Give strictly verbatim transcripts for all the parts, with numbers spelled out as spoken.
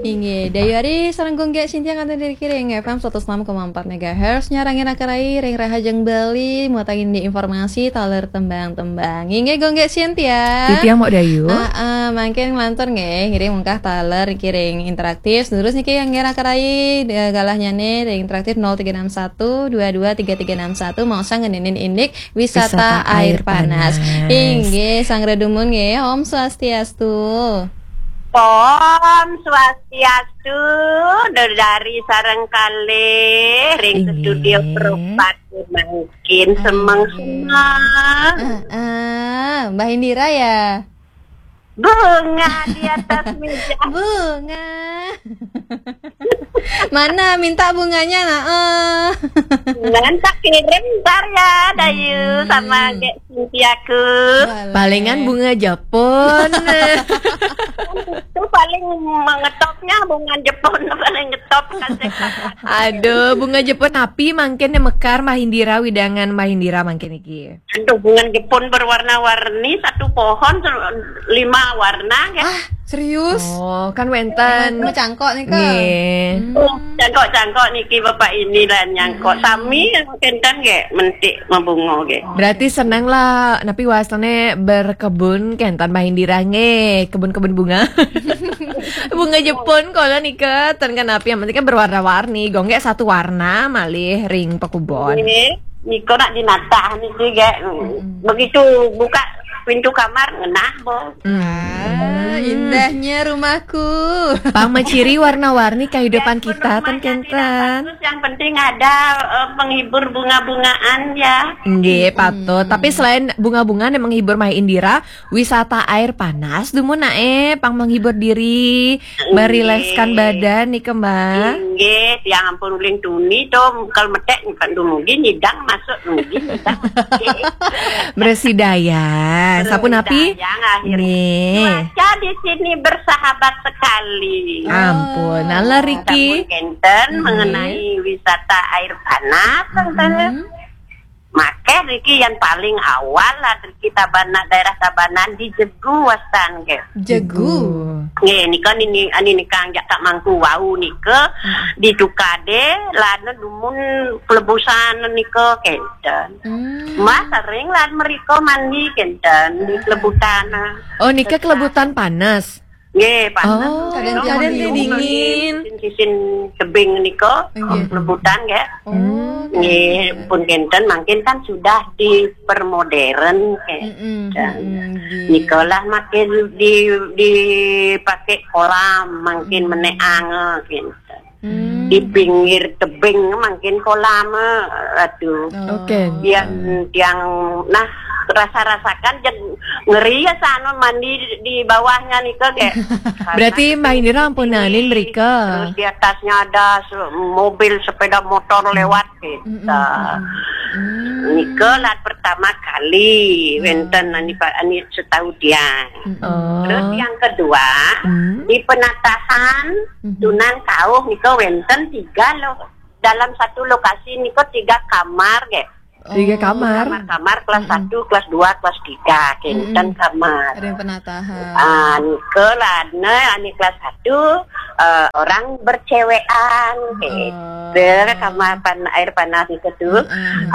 Inggih, Dayu Ari sareng Gung Gek Sintia kantun ring F M seratus enam koma empat megahertz, nyarengin akerai ring Rahajeng Bali, muatangin di informasi taler tembang-tembang. Inggih, Gung Gek Sintia. Titiang Mok Dayu. Heeh, mangkin nglantur nggih, ngiring mungkah taler niki ring interaktif. Terus niki ngiring akerai, eh, galahnyane ring interaktif nol tiga enam satu dua dua tiga tiga enam satu, maosang ngeninin indik wisata air panas. Inggih, Sang Redumun nggih, Om Swastiastu. Om Swastiastu, dari sareng kalih ring studio perempat mangkin semeng-semeng. Heeh, Mbah Indira ya? Bunga di atas meja. Bunga. Mana minta bunganya, nah, eh. Nanti kirim ntar ya, Dayu, sama Gek Sintiaku. Palingan bunga Jepun. Itu paling mengetopnya bunga Jepun, paling ngetop kasih. Aduh, bunga Jepun api mangkin mekar Mbah Indira, wewidangan Mbah Indira mangkin iki. Aduh, bunga Jepun berwarna-warni, satu pohon se-, lima warna, kan? Ah, serius? Oh, kan wenten. Mau cangkok nih, Kak. Nggih. Oh, cangkok-cangkok niki Bapak ini lah nyangkok. Sami kenten nggih, mentik mabunga nggih. Berarti seneng lah, napi wastane berkebun kenten Mbah Indira nggih, kebun-kebun bunga. Bunga Jepun kala nika, ten kenapi, yang penting kan berwarna-warni. Gung Gek satu warna malih ring pakubon. Nggih, nika nak dinatah niki, Gek. Begitu buka pintu kamar, ngenah, Bo. Ah, indahnya rumahku. Pang maciri warna-warni kehidupan kita, ten kenten. Yang penting ada, eh, penghibur bunga-bungaan, ya. Nggih, patut. Tapi selain bunga-bunga yang menghibur Mbah Indira, wisata air panas, dumun nae, pang menghibur diri, merilekskan badan nika, Mbah. Inggih, tiang ampun uling tuni to, kalau metek kan dumugi nyidang masuk, dumugi nyidang masuk. Bersih daya. Sapunapi? Bersih daya, akhirnya. Nggih. Cuaca di sini bersahabat sekali. Ampun, ala riki. Sampun kenten mengenai wisata air panas, kenten. Makeh niki yang paling awal lah niki Tabanan, daerah Tabanan di Jegu wastan nggih. Jegu. Nggih, nika nini, ani nika jak tak mangku wau nika di Tukade, lana dumun kelebusan nika kenten. Mas sering lan mereka mandi kenten di kelebutan. Oh, nika kelebutan panas. Nggih, panas. Oh, kadang-kadang dingin. Sisin, sisin tebing nika, kelebutan nggih. Oh, nggih, pun kenten mangkin kan sudah dipermodern nggih. Nikalah makin di, dipakai kolam mangkin meneang kenten. Di pinggir tebing mangkin kolam, aduh. Oke. Yang, yang, nah, rasa-rasakan jen ngeri ya sana mandi di, di bawahnya nika, kayak. Berarti Mbah Indira ampunanin mereka. Terus di atasnya ada se-, mobil, sepeda motor lewat, gitu. Nika lah pertama kali wenten ani pa-, ani setahu dia. Terus yang kedua, di penatahan Tunan Kauh nika wenten tiga loh. Dalam satu lokasi nika tiga kamar, nggih. Tiga kamar? Kamar-kamar kelas satu, kelas dua, kelas tiga, kenten kamar. Ada yang penatahan. Ah, nika lah, ne, ani kelas satu, eh, orang bercewekan, nggih. Kamar pan-, air panas nika tu.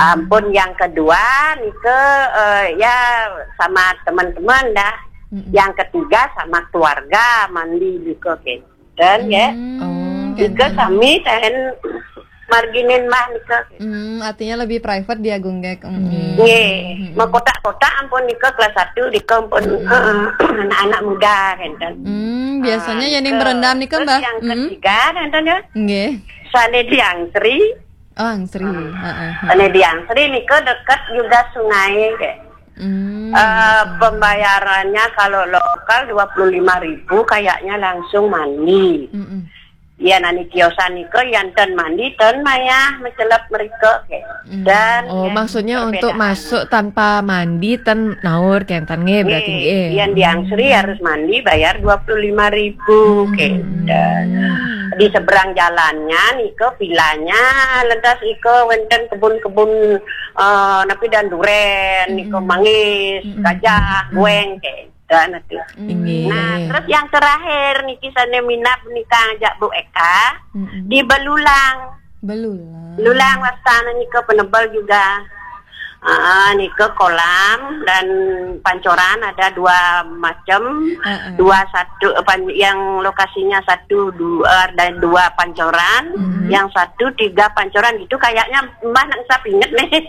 Ampun yang kedua nika, eh, ya sama teman-teman dah. Yang ketiga sama keluarga mandi nika, nggih. Dan ya. Nika sami ten marginin mah nika. Hmm, artinya lebih private dia, Gung Gek. Nggih, mengkotak-kotak ampun nika kelas satu, nika ampun, eh, anak-anak muda kenten. Hmm, biasanya yang berendam nika, Mbah. Yang ketiga kenten ya. Nggih. Sane Diang Sri. Oh, Angsri. Heeh. Sane Diang Sri nika dekat juga sungai, nggih. Eh, pembayarannya kalau lokal dua puluh lima ribu, kayaknya langsung mandi. Yan ani kiosan nika, yan ten mandi, ten mayah, mecelep mereka, kayak. Dan oh, maksudnya untuk masuk tanpa mandi, ten naur, kenten nggih, berarti nggih. Yan Diang Sri harus mandi, bayar dua puluh lima ribu, kenten. Di seberang jalannya nika vilanya, ledas nika wenten kebun-kebun, eh, napi dan duren, nika manggis, gajah, gueng, kayak. Kan itu. Inggih. Nah, terus yang terakhir niki sane minab nika ajak Bu Eka di Belulang. Belulang. Belulang wastane nika penebel juga. Ah, nika kolam dan pancoran ada dua macam. Heeh. Dua satu, apa, yang lokasinya satu dua dan dua pancoran, yang satu tiga pancoran gitu kayaknya Mbah nak usah inget nih.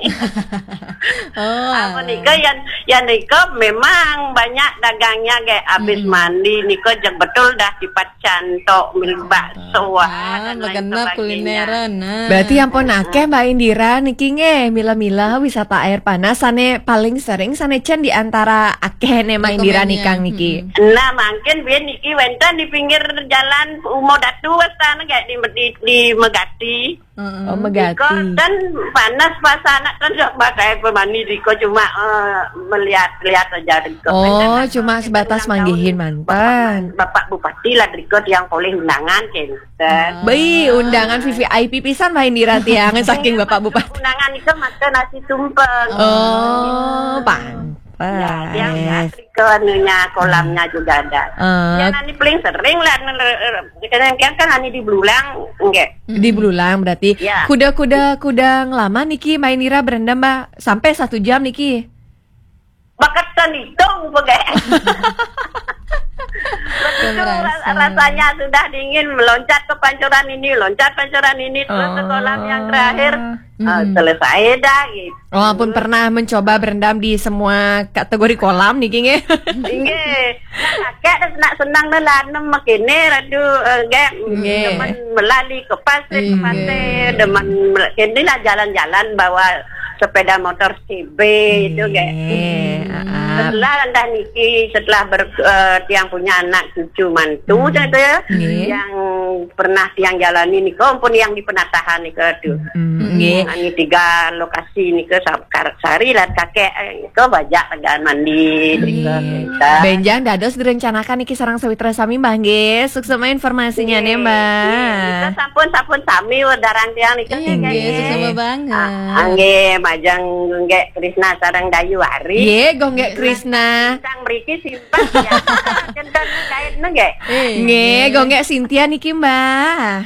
Oh, apa nika yang yang nika memang banyak dagangnya kayak habis mandi nika jeng betul dah tipat cantok mil bakso ah, dan lain sebagainya. Kulineran. Nah. Berarti ampun akeh Mbak Indira niki nggih, mila-mila wisata air panas sane paling sering sane cen di antara akeh ne Mbak Indira nikang niki. Nah, mungkin biyen niki wenten di pinggir jalan Umo Datu wastane kayak di di, di Megati. Oh, Megati. Riko kan panas pas anak kan dak pakai pemani riko cuma eh, melihat-lihat aja riko. Oh, cuma sebatas manggihin mantan. Bapak Bupati lah riko yang poleh undangan kenten. Baik, undangan V V I P pisan Mbak Indira tiang saking Bapak Bupati. Undangan itu makan nasi tumpeng. Oh, pantes. Ya, yang riko anunya kolamnya juga ada. Yang ani paling sering lah kadang kan ani di Belulang, enggak. Di Belulang berarti. Ya. Kuda-kuda kuda ngelama niki Mbak Indira berendam Mbak sampai satu jam niki. Bakat kan hitung pakai. Begitu rasanya sudah dingin meloncat ke pancuran ini, loncat pancuran ini terus ke kolam yang terakhir. Ah, selesai dah gitu. Oh, ampun pernah mencoba berendam di semua kategori kolam niki nggih. Nggih. Nah, kakek nak senang nih lah nem makene aduh eh, nggih. Demen melali ke pasir ke pasir, demen mel- kene lah jalan-jalan bawa sepeda motor C B itu nggih. Setelah dah niki setelah ber, eh, tiang punya anak cucu mantu saya yang pernah tiang jalani nika ampun yang di penatahan nika aduh. Nggih. Ini tiga lokasi nika sa- kar- sehari lah kakek eh, nika bajak tegal mandi nika. Benjang dados direncanakan niki sareng sawitra sami Mbah nggih. Suksema informasinya nih Mbah. Nika sampun sampun sami wedarang tiang nika nggih. Suksema banget. Ah, nggih majeng nggih Krisna sareng Dayu Ari. Nggih, Gonggek Krisna. Sang mriki simpan ya. Kenten kait nggih. Nggih, Gonggek Sintia niki Mbah.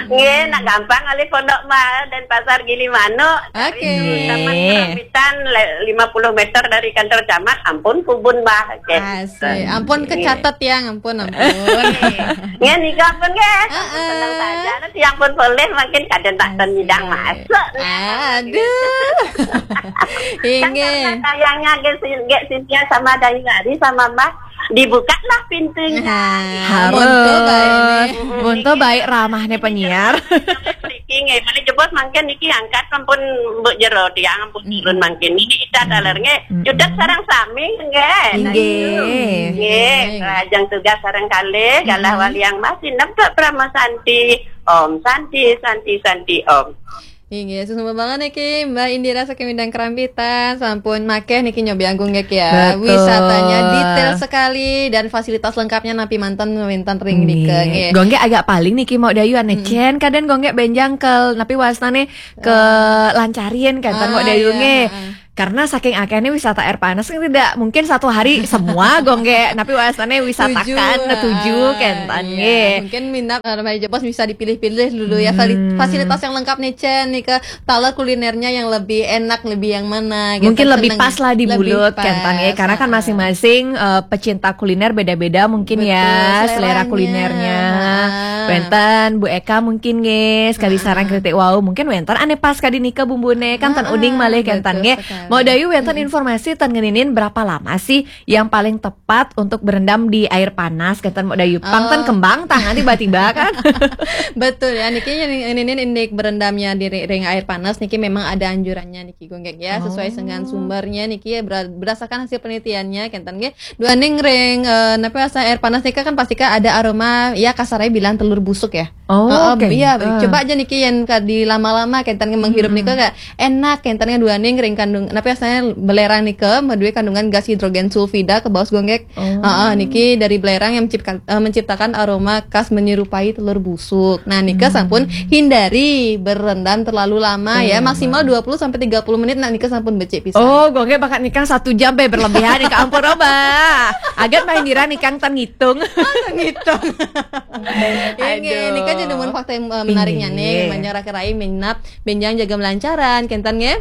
Nggih, nak gampang oleh Pondok Mbah dan Pasar Gilimanuk. Oke. Taman Kerambitan le- lima puluh meter dari kantor camat, ampun kubun Mbah. Oke. Asik. Ampun kecatet ya, ampun ampun. Nggih, nika ampun nggih. Heeh. Senang saja. Nanti yang pun boleh mungkin kadang tak ten nyidang masuk. Aduh. Inggih. Sayangnya nggih Sintia sama Dayu Ari sama Mbah dibukalah pintunya. Harus. Monto baik ramahnya penyiar. Niki nggih, mari jebos mangkin niki angkat ampun mbok jero tiang ampun turun mangkin. Niki kita daler nggih. Cudet sareng sami nggih. Inggih. Nggih, lajeng tugas sareng kalih galah wali yang masih nembe Brahma Santi. Om Santi, Santi, Santi, Om. Inggih, suksma banget niki Mbak Indira saking Mindang Kerambitan, sampun makeh niki nyobi anggung nggih ya. Betul. Wisatanya detail sekali dan fasilitas lengkapnya napi manten wenten ring nika nggih. Gonggek agak paling niki mau dayu aneh cen kaden gonggek benjang ke napi wasnane ke lancarin kan tan mau dayu nggih. Karena saking akehnya wisata air panas kan tidak mungkin satu hari semua gonggek napi wasnane wisatakan tujuh, tujuh ah, kentan iya. Nggih. Mungkin minat eh, Remaja Jepos bisa dipilih-pilih dulu ya fali- fasilitas yang lengkap nih Cen nih ke talar kulinernya yang lebih enak lebih yang mana gitu. Mungkin lebih pas lah di mulut kentan ya karena kan masing-masing eh, pecinta kuliner beda-beda mungkin ya selera kulinernya. Wenten Bu Eka mungkin nggih sekali sarang kritik wow mungkin wenten aneh pas kadi nika bumbune kan tan uning malih kentan nggih. Mau dayu wenten informasi tan ngeninin berapa lama sih yang paling tepat untuk berendam di air panas kentan mau dayu pang tan kembang tangan tiba-tiba kan. Betul ya niki ngeninin indik berendamnya di ring air panas niki memang ada anjurannya niki gonggek ya sesuai dengan sumbernya niki ya berdasarkan hasil penelitiannya kentan nggih. Duaning ring eh, napi rasa air panas nika kan pasti kan ada aroma ya kasarnya bilang telur busuk ya. Oh, Heeh, oke. Iya, Ah. Coba aja niki yang kadi lama-lama kénten menghirup nika kayak enak, kénten duaning ring kandung, napi asané belerang nika madué kandungan gas hidrogen sulfida kebaos Gonggek. Oh. Heeh, niki dari belerang yang menciptakan, eh, menciptakan aroma khas menyerupai telur busuk. Nah, nika sampun hindari berendam terlalu lama ya, maksimal dua puluh sampai tiga puluh menit. Nah, nika sampun becik pisan. Oh, Gonggek bakat nikang satu jam be berlebihan nih, ampun, Roba. Agat main dira nikang tan ngitung. Gitu. Inggih, Aduh. Nika jadi mun fakta yang, eh, menariknya nih, Inggih. Manjang raka-rai minap, benjang jaga melancaran, kénten nggih.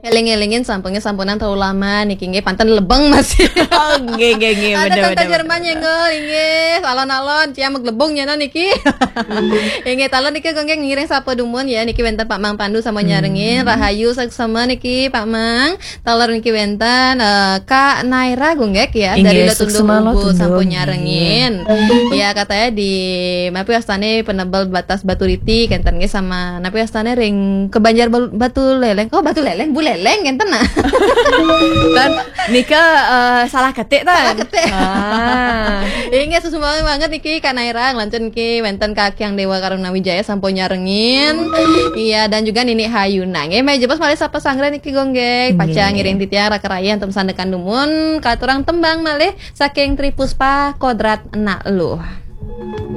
Eling-elingin sampunge sampunan terlalu lama niki nggih, panten lebeng masih. Oh, nggih, nggih, nggih, Ada bener, tante bener, Jerman nyenggol, inggih, alon-alon, cia meglebung nyana niki. Inggih, talon niki Gonggek ngiring sapa dumun ya, niki wénten Pak Mang Pandu sama nyarengin, rahayu saksama niki Pak Mang. Talon niki wénten, eh, Kak Naira Gonggek ya, Inggih, dari Lotundo suksma Ubud Lotundo, sampun inggih. Nyarengin. Ya, katanya di napi wastane penebel batas Batu Riti, kénten nggih sama napi wastane ring ke Banjar Bal- Batu Leleng. Oh, Batu Leleng, Bu Leleng kénten nah. Dan nika, eh, salah ketik tan. Salah ketik. Ah. Inggih, suksma banget niki Kak Naira, nglanjut niki wénten Kak Kyang Dewa Karuna Wijaya sampun nyarengin. Iya, dan juga Nini Hayuna. Nggih, meh jebos malih sapa sanggra niki Gonggek. Paca Inggih. Ngiring titiang raka-rai antum sandekan dumun, katurang tembang malih saking Tri Puspa Kodrat Enak Luh.